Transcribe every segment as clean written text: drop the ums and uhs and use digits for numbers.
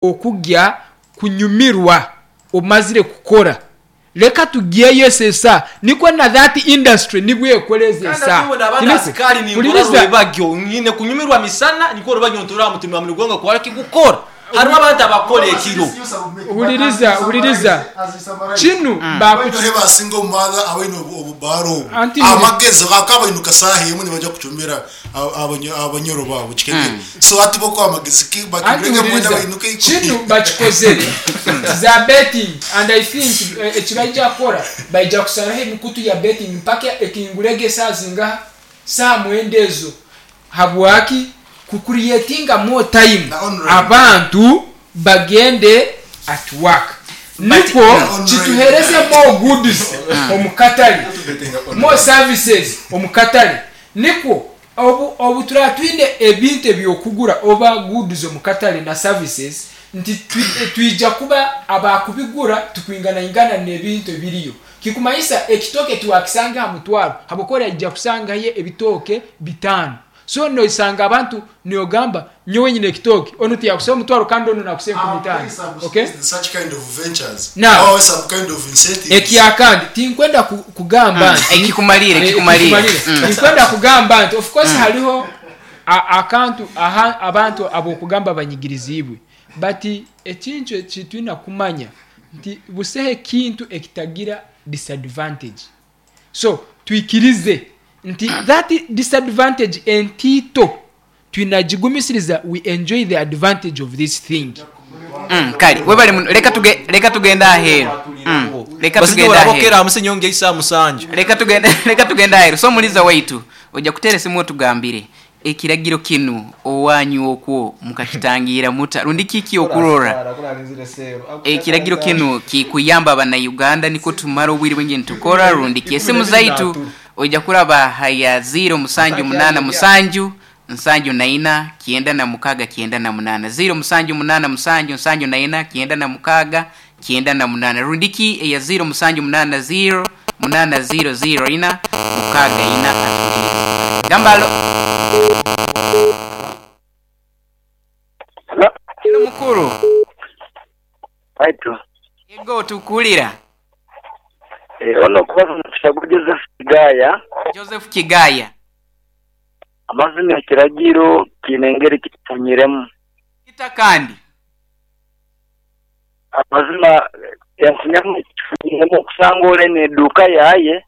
Okugya kunyumirwa omazire kukora leka tugyeyo eso esaa nikwo na that industry nibwo ekora ezo Kandi esaa ati iwe naba Tiniko? asikari ninkora Huliriza. rwebagyo nyine kunyumirwa misana nikwo rwebagyo ntura aha mutima muri gwonka kwara kigukora hariho abantu abakora ekiro. Huliriza huliriza kinu bakuki. Bangahi abasinga omu baaba abaine obubaara obu Anti huri. amagezi akabainuka saaha emwe nibaija kucumbira abanyoro baabo kikegere so hati bo amagezi ki Anti bakigure nka mwenda huliriza bainuke ikumi. kinu bakikozere za betting and I think ekibaija kukora baija kusaraho emikutu ya betting mpaka ekingurege esaaha zingaha saaha mwenda ezo habwaki ku creatinga more time Na online. abantu bagende at work But nikwo Na online. kituhereze more goods omu katare more services omu katare nikwo obu obu turaba twine ebintu eby'okugura oba goods omu katare na services nti twija kuba abakubigura tukwinganaingana n'ebintu ebiriyo kikumanyisa ekitooke tiwakisanga aha mutwaro habwokuba oraija kusangayo ebitooke bitaano So noisanga abantu niogamba nyowe nyine ekitooke onu tiyakusaba omutwaro kandi onu nakusa enkumi itaano. Okay? Such kind of ventures Now, or some kind of incentives. ekyakandi tinkwenda kugamba nti Ekikumalire, eh, ekikumalire. ekikumalire. Tinkwenda kugamba nti of course hariho akantu aha abantu abokugamba banyigiriziibwe but ekintu eki twina kumanya nti busaho ekintu ekitagira disadvantage. So twikirize nti that disadvantage entiito twinagigumisiriza we enjoy the advantage of this thing. Mm, kale webale muno leka tuge leka tugende aheeru mm, leka Basijja tugende oraba okera aheeru aha musi nyowe ngya isaaha musanju. leka tugende leka tugende aheeru so omuliza waitu oja kuteera esimu otugambire ekiragiro kinu owanyu okwo mukakitangiira muta rundi kiki okurora ekiragiro kinu kikuyamba abanauganda nikwo tumara obwire bwingi nitukora rundi ki esimu zaitu oija kuraba haya 0 musanju munana musanju nsanju naina 96 98 0 musanju munana musanju nsanju naina 96 98 rundi ki eya 0 musanju munana 0 munana 0 0 ina mukaaga ina atuhulirize gamba alo Halo. Hello mukuru. Waitu. Yego tukuwulira. Eh, ono okubaza omukisa gwa Joseph Kigaya. Joseph Kigaya. Amazima ekiragiro kiine engeri kitufunyiremu. Kita kandi. Amazima enfunyamu ekitufunyiremu okusanga ole n'eduuka yaye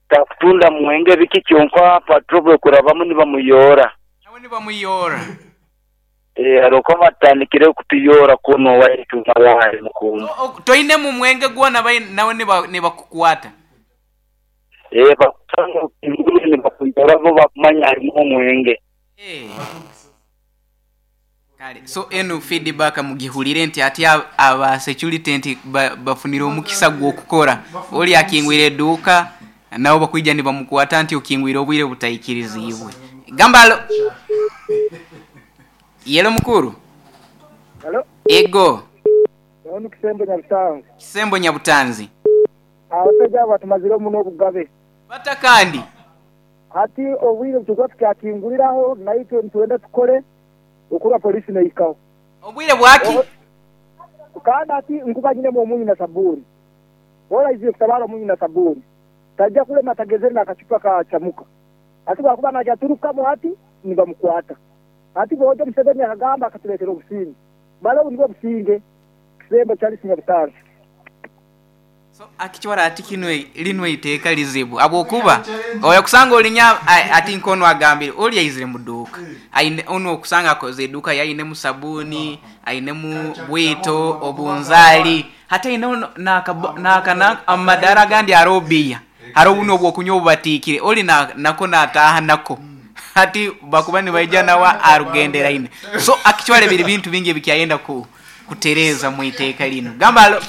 takutunda mwenge biki kyonka patrol bwekurabamu nibamuyoora. Nawe nibamuyoora. Eh, hariho oku batandikire kutuyoora kunu owaitu Malawi mukuuma. So, toinemu mwenge gwona nawe nibakukwata? Eh, bakusanga okingwire nibakuyoora bo bakumanya harimu omwenge. Eh. Kale, so enu feedback mugihulire nti ati aba security nti bafunire omukisa gw'okukora. Oli akingwire eduuka nabo bakwija nibamukwata nti okingwire obwire butaikiriziibwe. Gamba alo. Yelo mukuru. Halo. Ego. Ono Kisembo Nyabutanzi. Kisembo Nyabutanzi. Abasaija abo batumazire muno obugabe. Bata kandi. Hati obwire obuturikuba tukyakinguriraho naitwe nitwenda tukore okuba poliisi neihikaho. Obwire bwaki? Kandi hati nkuba nyinemu omunyu na sabuuni. Hoona aizire kutabaara omunyu na sabuuni. Taija kulema atagezere n'akacupa ka camuka. Hati bwakuba naija aturukamu hati nibamukwata. Hati bwojo Museveni akagamba akatureetera obusinge. Male obu nibwo businge. Kisembo Charles Nyabutanzi. So akicwara ati kinu linu eiteeka lizibu habwokuba oya kusanga olinya ati nk'onu agambire oli aizire mu duuka aine onu okusanga akoze eduuka ye ainemu sabuuni ainemu bwito obunzaali hati aineho naka amadaara agandi haroho bbiya haroho bunu obw'okunywa obubatiikire oli nako nataaha nako hati bakuba nibaija nawe arugenderaine so akicwara biri bintu bingi ebikyayenda kutereeza mu iteeka linu. Gamba alo.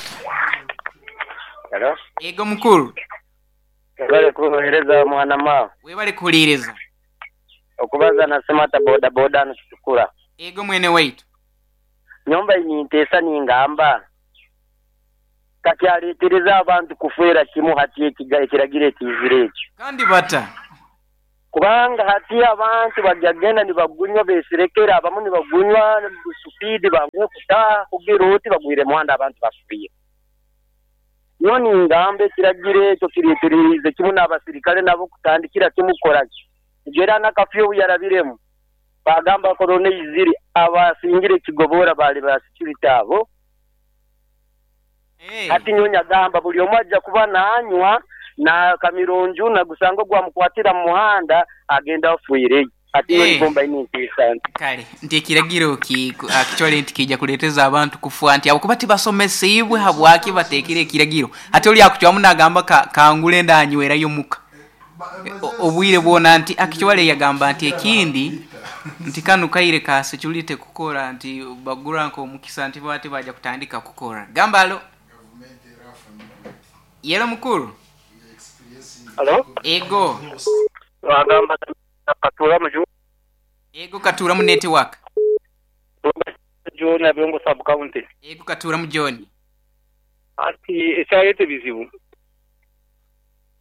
Hello. Yego mukuru. Webale kuhereza mwana ma. Webale kuhuliiriza. Okubaza na Semata boda boda hano Kitukura. Yego mwene waitu. Nyomba ninteesa ningamba kakyaletereza abantu kufeera kimu hati ekiragiro ekiizire ekyo. Kandi bata? Kubanga hati abantu baryagenda nibagunywa beserekere, abamu nibagunywa supiidi banguhe kutaaha kugira oti bagwire muhanda abantu bafiire. Nyowe ningamba ekiragiro ekyo kireetereriize kimwe n'abasirikare nabo kutandikira kimwe kukora ki? Era na kafyu obu yarabiremu, baagamba korona eizire, abasingire ekigobora baali ba security abo. Hati nyowe nyagamba buri omwe aija kuba nanywa na kamirungi nagusanga ogwamukwatira mu muhanda agenda afiireyo. Hati nyowe nikwo mbaire ninteesa nti. Kale nti ekiragiro actually nti kiija kureeteza abantu kufa nti ahabw'okuba tibasomesiibwe habwaki bateekire ekiragiro. Hati ori akucwamu nagamba kangure ndanywerayo omuka obwire bwona nti actually yagamba nti ekindi nti kanu kaire ka security kukora nti bagura nk'omukisa nti bo hati baija kutandika kukora. Gamba alo. Yelo mukuru. Halo. Ego. Wagamba Katuura mu Ego Katuura mu network. John Abiongo sub county. Ego Katuura mu John. Hati ekyareta ebizibu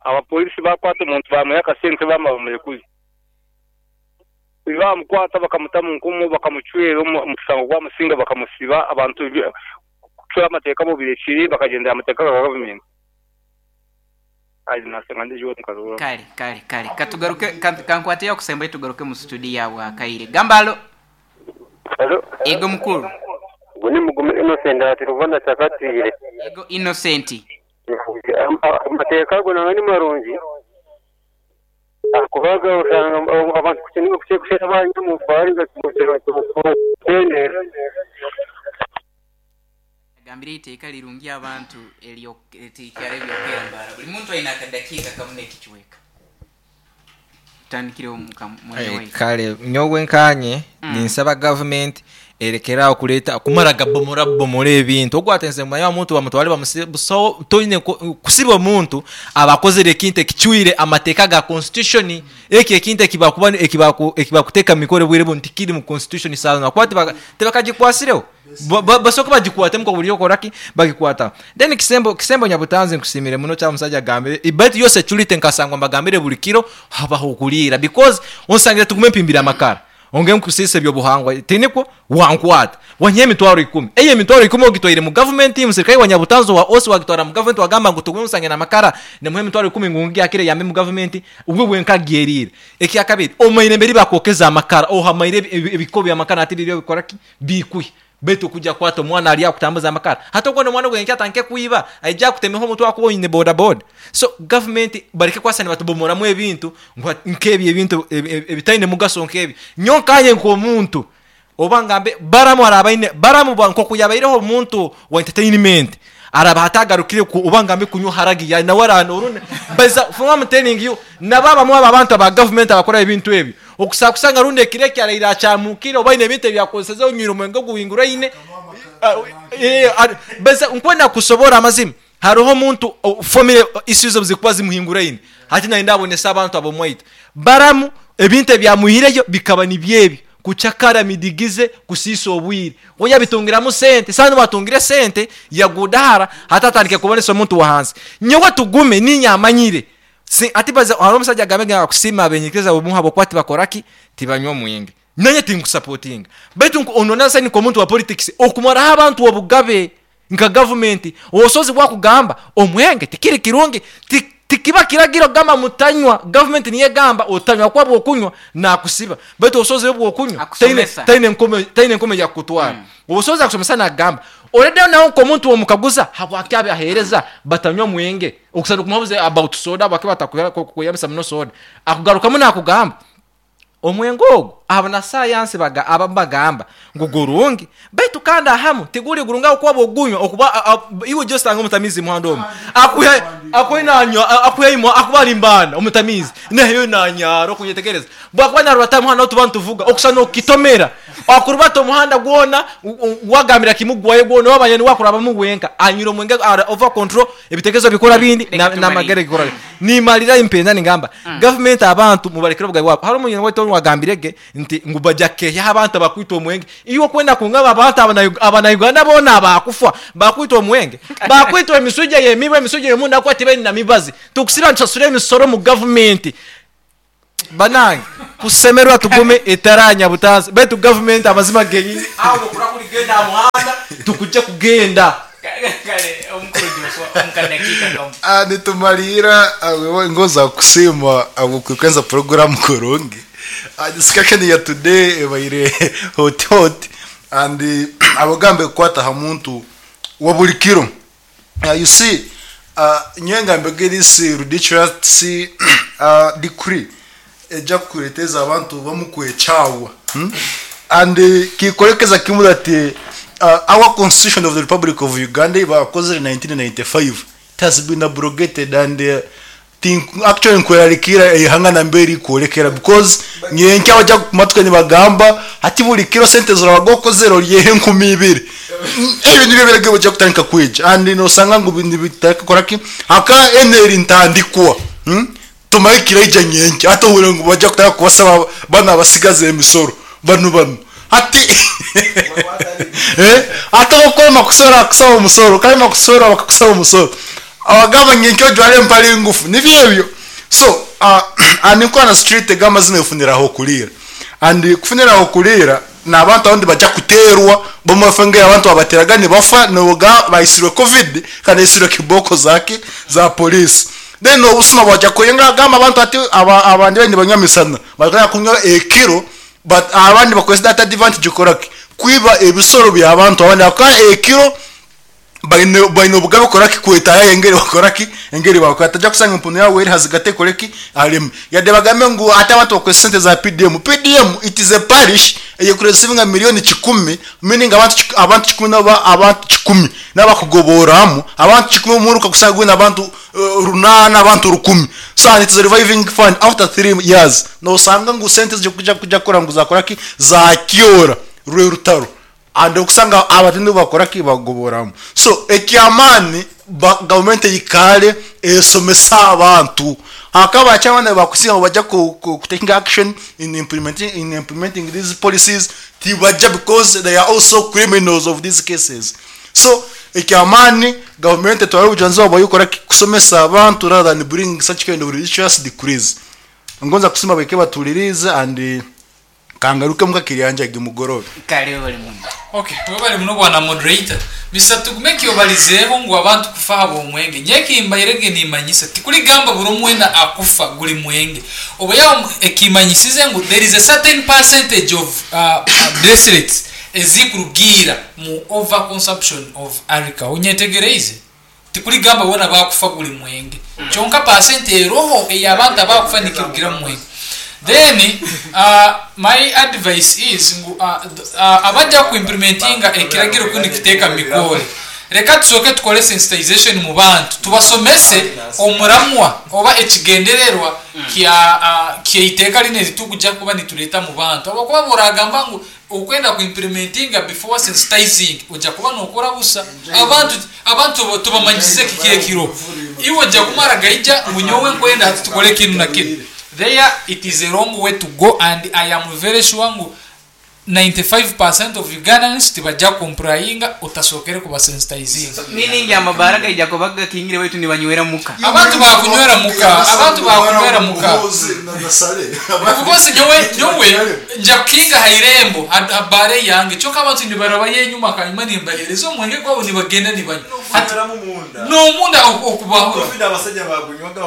abapolisi bakwata omuntu bamuha akasente bamara bamurekuze. Bamukwata bakamuta mu nkomo bakamucwera omushango gwamusinga bakamusiba abantu kucwera amateeka bobirekire bakagyendera amateeka ga gavumenti. Kale, kale, kale. Katugaruke, kankwateyo akusembayo tugaruke mu studio awo akaire. Gamba alo. Halo. Ego mukulu. Ogwo ni Mugume Innocent ati Rubona Kyakatwire. Ego Innocent. Amateeka ago nangwa ni marungi ahakuba oshanga abantu kushera banywa omu baara kuhendera. Agambire eiteeka lirungi abantu ery'ekyaro eby'okweyambara. Buli muntu aine akadakiika kamu n'ekicweka. Tutandikireho mwene waitu. Kale nyowe nkanye ninsaba gavumenti erekere aho kureeta kumara gabomora bubomora ebintu. Ogu atenze mumanya omuntu bamutware bamusibe busaho toine kusiba omuntu aba akozire ekintu ekicwire amateeka ga constitution. Ekyo ekintu ekibakuba ekibakuteeka omu mikoro obwire bunu tikiri mu constitution saaha zoona ahakuba tibakagikwasireho. Basooke bagikwatemu nka buri okora ki bagikwataho. Then Kisembo Kisembo Nyabutanzi nkusiimire muno eki omushaija agambire baitu yo security nkasangwa mbagambire buri kiro habaho okuriira because onsangire tugume mpimbire amakara onge nkusiisa eby'obuhangwa tinikwo? Wankwata wanyiha emitwaro ikumi eyo emitwaro ikumi ogitwaire mu government omusirikare wa Nyabutanzi owa OC wagitwara mu government wagamba ngu tugume nsange n'amakara nimuhe emitwaro ikumi ngu ngyakire eyambe mu government obwo bwenka agyeriire. Ekyakabiri omaire mberi bakwokeza amakara ohamaire ebiko by'amakara hati biriyo bikora ki? Biikuhi. Beitu kuja kukwata omwana ari akutambuza amakara. Hati ogwo n'omwana ogwo enkya atandike kwiba, aije akutemeho omutwe ahakuba oine bodaboda. So gavumenti bareke kubaasa nibatubomoramu ebintu ngu nk'ebyo ebintu ebitaine mugasho nk'ebyo. Nyowe nkaanye nk'omuntu oba ngambe Balamu araabe aine, Balamu nk'oku yaabaireho omuntu wa entertainment, araabe hati agarukire oba ngambe kunywa haragi ya nawe aranooruna. Baza, for I'm telling you, nabo abamwe abo abantu aba gavumenti abakora ebintu ebyo, Okusa kusanga rundi ekiro eki araire akyamukire oba aine ebintu ebi akozeseze onywire omwenge oguhinguraine. Baiza nkwenda kusoboora amazima hariho omuntu family issues obu zirikuba zimuhinguraine hati nayenda abonese abantu ab'omwaitu. Baramu ebintu ebyamwihireyo bikaba nibyo ebi, kucakara midigize, kusiisa obwire. We yabitungiramu sente, saha nobu atungire sente yagudahara hati atandikire kubonesa omuntu wahansi. Nyowe Tugume ninye amanyire Si, ati baza, hariho omusaija agambire ngu akusiima abenyikiriza bomu habwokuba tibakora ki? Tibanywa omwenge. Nanye tinkusapotinga. Baitu nku, onu nasa nk'omuntu wa politics, okumaraho abantu obugabe nka gavumenti, obusobozi bwakugamba omwenge tikiri kirungi, ti, tikiba kiragiro kugamba mutanywa, gavumenti niyo egamba otanywa ahakuba bwokunywa nakusiba. Baitu obusobozi obwokunywa taine, Akusomesa. taine nkomo, taine nkomo eyakukutwara. Obusobozi akusomesa nagamba. Already nawe nk'omuntu womukaguza habwaki abahereza batanywa mwenge? Okusana okumuhabuza about soda habwaki batakweyambisa muno soda, akugarukamu nakugamba omwenge ogu abanasayansi abamu bagamba ngu gurungi baitu kandi ahamu tiguri gurungi ahabw'okuba bwogunywa okuba iwe just osanga omutamiizi muhanda omu akuhe nanywa akuhe imwe akuba ari mbaana omutamiizi naheyo nanyara okunyetegereza bwakuba narubata aha muhanda ahu tuba nituvuga okusana okukitomera Akurubata omuhanda gwona, wagambira kimwe gwayo gwona, wamanya niwe akurabamu wenka. Anywire omwenge ari over control, ebitekerezo bikora bindi, Leka tumalire. namagere gikora bindi. Nimalira mpenda ningamba, gavumenti abantu mubarekere obugabe bwabo. Hariho omunyene waitu owagambire ge nti ngu baja kehyaho abantu abakwitwa omwenge. Iwe okwenda kungamba abantu abanauganda boona abakufwa bakwitwa omwenge? Bakwitwa emiswija yemibu, emiswija yomunda ahakuba tibaine na mibazi. Tukusiba nitusasura emisoro omu gavumenti. Banange kusemerwa tugume etaranya butansi betu gavumenti amazima genyini awo okura kurigenda aha muhanda tukujja kugenda. Kale omukuru Joshua omu kadakiika kamu. Ah, nitumaliira wewe ngoza kusiima ahabw'okwikwenza program kurungi. Ah, discussion ya today ebaire hot hot and abagambe kukwata aha muntu wa buri kiro. You see, nyowe ngambege this ridiculous decree ejja kukureeteza abantu bamukwekyawa. And kikorekeza kimwe that our constitution of the Republic of Uganda bakozere 1995 it has been abrogated and think actually nkwerarikira eihanga nambere rikurekera because nyenke abajya kumatwe nibagamba ati buri kiro sente zorabaga okozere oryehe 2000. Ebyo nibyo biragebo bajya kutandika kwija and nosanga ngu nibitakora ki haka eneri ntandikwa. Tumaye kiraija nyenke ate ohure ngu bajya kutandika kubasaba bana basigaze emisoro banu banu ati ate okwema kusora kusaba omusoro kalema kusora bakakusaba omusoro abagamba nyenke ojware empale ngufu nibyo ebyo. So and nko na street gamba zino efunira aho kulira and kufunira aho kulira n'abantu abandi bajya kuterwa bamafenge abantu abateraga nibafa noga baisirwe covid kandi isirwe kiboko zake za police. Then obusuma bwajya kuyenga gamba abantu ati abandi bandi banyamisana bagaya kunywa ekiro but abandi bakwesa data advantage koraki kwiba ebisoro bya abantu abandi akora ekiro baine obugabe koraki kwetaya engeri bakoraki engeri bakora tajya kusanga empunu yawe eri hazigate koreki alime yadde bagambe ngu ate abantu bakwesa sente za PDM. PDM it is a parish eyekureceivinga milioni 10 meaning abantu 10 naba abantu 10 n'abakugoboramu abantu 10 muruka kusanga gwina abantu 8 abantu 10. So and it is a reviving fund after 3 years no usanga ngu sente zijya kujya kora ngu zakoraki zakyora rwe rutaro and okusanga abatindu bakora ki bagoboramu. So ekyamani government yikale esomesa abantu hakaba cyabana bakusinga bajya ku taking action in implementing these policies tibajja because they are also criminals of these cases. So ekyamani government twari bujanzo bayikora kusomesa abantu rather than bring such kind of religious decrees. Ngonza kusima beke batulirize and kangaruke mukakiriyanja gimugorobe. Kale bali muno. Okay, webali muno bwana moderator. Mr. Tugumeki obalizeeho ngu abantu kufa abo omwenge. Nyekimbairege nimanyisa tikuligamba buri omwena akufa guli mwenge. Oba yawo ekimanyisize ngu there is a certain percentage of death rates ezikurugira mu over consumption of alcohol. Onyetegereize tikuligamba bona bakufa guli mwenge. Kyonka percent eroho ey'abantu abakufa nikirugira mu mwenge. Then my advice is abajja kuimplementinga ekiragiro kundi kiteeka mikole reka tusooke tukole sensitization mu bantu tubasomese omuramwa oba ekigendererwa kya iteeka lino eritukujja kuba nituleeta mu bantu abakuba boragamba ngu okwenda kuimplementinga before sensitizing ojja kuba nokora busa abantu tubamanyize kiki ekiro iwe ojja kumara gaija ngu nyowe nkwenda hati tukole kinu na kinu. There it is a wrong way to go and I am very sure ngu 95% of Ugandans tibajja complyinga utasokere kubasensitizinga. Meaning amabara gaija kubaga kingire wetu nibanywera muka. Abantu bakunywera muka, abantu bakunywera muka. Bose nyowe nja kinga hairembo habare yange choka abantu nibaraba yenyuma kanyuma nimbahereza omwenge gwabo nibagenda nibanywa. No munda okubaho.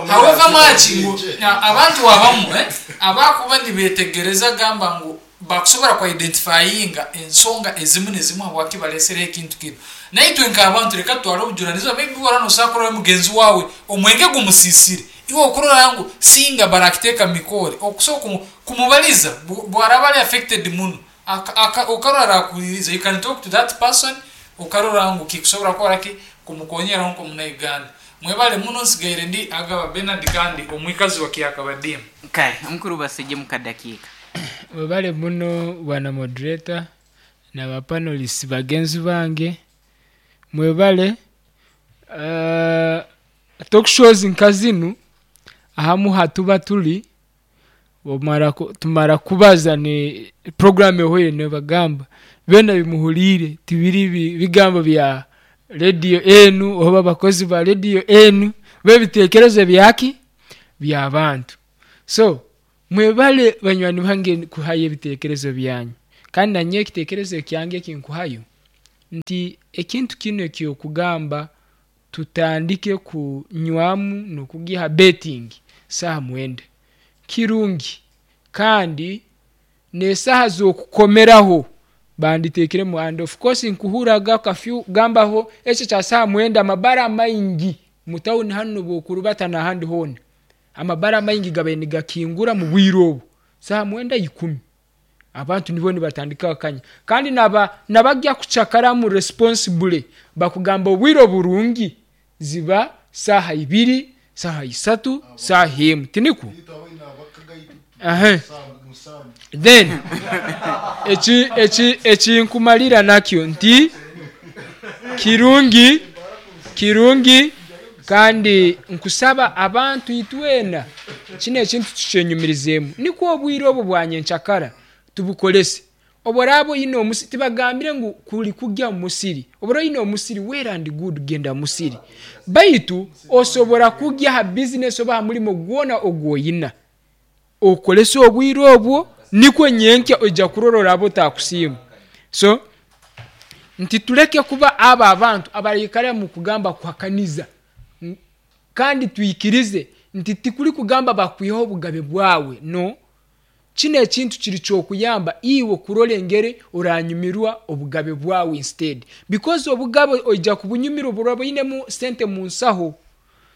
However much ngu abantu abamu abakuba nibetegereza gamba ngu bakusobora ku identifyinga ensonga ezimu nezimu habwaki balesere ekintu kino. Naitwe nk'abantu reka twale obujunanizibwa maybe warano sakurora mugenzi wawe omwenge gumusisire iwe okurora ngu singa barakiteeka mikore okusobola kumubaliza bwaraba ari affected muno okarora akuliriza you can talk to that person okarora ngu kikusobora kukora ki kumukonyera nko muna Uganda. Mwebale muno nsigaire ndi Agaba Bernard kandi omwikazi wa Kyakabadimu. Kale omukuru Basejje mu kadakiika. Webale muno bwana moderator na ba panelists bagenzi bange mwebale. Talk shows nka zinu ahamu hatuba tuli tumara kubaza ni program ehoire nebagamba bena bimuhulire tibiri bigambo bya radio enu oba bakozi ba radio enu bebitekerezo byaki bya bantu. So Mwebale banywani bange kuhayo ebitekerezo byanyu. Kandi nanye ekitekerezo kyange ekinkuhayo nti ekintu kinu ekyokugamba tutandike kunywamu nokugiha betting saaha 9 kirungi, kandi nesaha zokukomeraho banditekiremu. And of course nkuhuraga kafyu gambaho ekyo kya saaha 9, amabara maingi mu tawuni hanu nobukurubata nahandi hoona, amabara maingi gabaire nigakingura mu bwire obu saaha 9 10, abantu nibo nibatandika akanya. Kandi nabajya kucakaramu responsibly bakugamba obwire oburungi ziba saaha 2, saaha 3, saaha 1, tinikwo? Then ekinkumalira nakyo nti kirungi, kandi nkusaba abantu itwena kino ekintu tukyenyumirizemu, nikwo obwire obwo bwanyenkyakara tubukorese. Obu oraaba oyine omusiri, tibagambire ngu kuri kugya omu musiri. Obu oyine omusiri, well and good, genda musiri, baitu osobora kugya ha bizinesi oba ha murimo gwona ogwoyina, okorese obwire obwo, nikwo nyenkya oija kurora oraba otakusiima. So nti tuleke kuba abo abantu abaraikara mu kugamba kuhakaniza, kandi twikirize nti tikuri kugamba bakwihaho obugabe bwawe. No, kino ekintu kiri kyokuyamba iwe kurora engeri oranyumirwa obugabe bwawe instead, because obugabe oija kubunyumirwa oburaba oyinemu sente mu nsaho.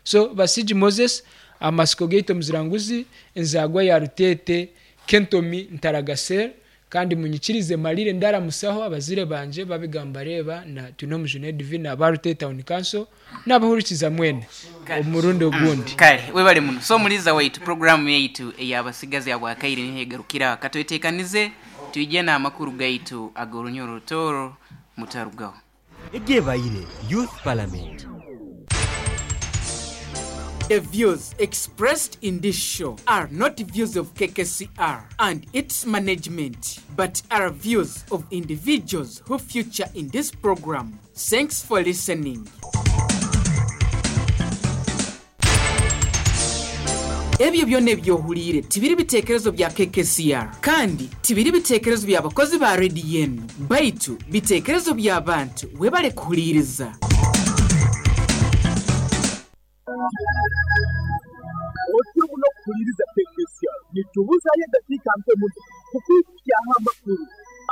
So Basigi Moses, amasiko gaitu omuziranguzi, enzagwa ya Rutete, Kentomi Ntaragasel. Kandi munyikirize malire ndaramusaho abazire banje babigamba reba na Twinomujune Divina aba Rutete Town Council n'abahurikiza mwene omurundi ogundi. Kale webale muno. So omuliza waitu, programu yaitu ey'abasigazi abwakaire niho egarukira. Katwetekanize twije n'amakuru gaitu ag'orunyoro Rutooro, mutarugaho. Egyebaire Youth Parliament. The views expressed in this show are not views of KKCR and its management, but are views of individuals who feature in this program. Thanks for listening. Ebyo byona ebyohuliire tibiri bitekerezo bya KKCR, kandi tibiri bitekerezo by'abakozi ba rediyo enu, baitu bitekerezo by'abantu. Webale kuhuliiriza. Otyo muno kuhuliiriza KKCR. Nitubuzayo edakiika mpe muno kukwikukyaho amakuru.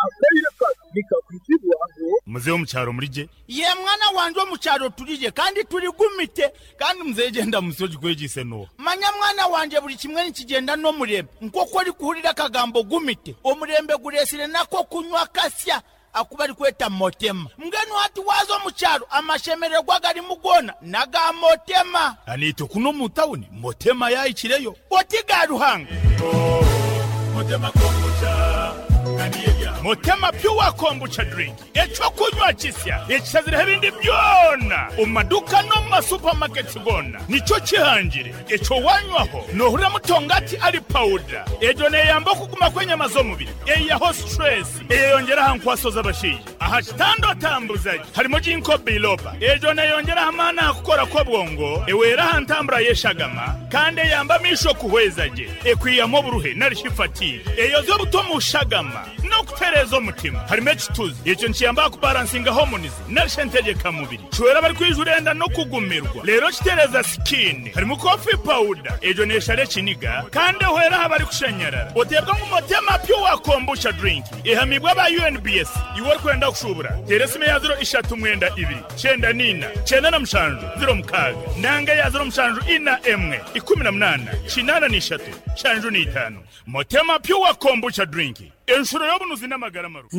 Akaire kanu nikakwizibwaho. Muzeeyi omu kyaro muri gye? Ye mwana wangye, omu kyaro turi gye kandi turi gumite. Kandi muzeeyi, gyenda musi ogikwegyise n'oha? Manya mwana wangye, buri kimwe nikigenda n'omurembe. Nk'oku orikuhurira akagambo gumite, omurembe gureesire nako kunywa kasya aku barikweta motema. Mbwenu hati waaza omu kyaro, amashemererwa garimu goona n'aga motema. Aniitwe kunu omu tawuni motema yaahikireyo. Oti ga Ruhanga. Motema kombucha. Motema Pure Kombucha Drink, ekyokunywa kisya ekishazireho ebindi byona omu maduka n'omu masupamaketi goona. Nikyo kihangire ekyo wanywaho nohurira mutongati ari pawuda. Egyo neyamba okuguma kw'enyama z'omubiri, eyihaho stress, eyeyongera aha nkwaso z'abashaija, aha kitanda otambuza gye. Harimo ginkgo biloba, egyo neyongera amaani aha kukora kw'obwongo, ewera aha ntambura y'eshagama, kandi eyamba amaisho kuhweza gye, ekwihamu oburuhe narishi fatigue, eyoza obuto mu shagama n'okutereeza omutima. Harimo ekituzi, ekyo nikiyamba kubalansinga hormones narishi entegeka-mubiri, kiwera abarikwijura enda n'okugumirwa, reero kitereeza skin. Harimu coffee powder, egyo neeshara ekiniga kandi ehwera aha barikushanyarara. Oteebwa ngu Motema Pure Kombucha Drink ehamibwa aba UNBS. Iwe orikwenda kushuubura, teera esimu eya 032 94 97 06 nanga eya 0741 18 83 75. Motema Pure Kombucha Drink, enshuro y'obunuzi n'amagara marungi.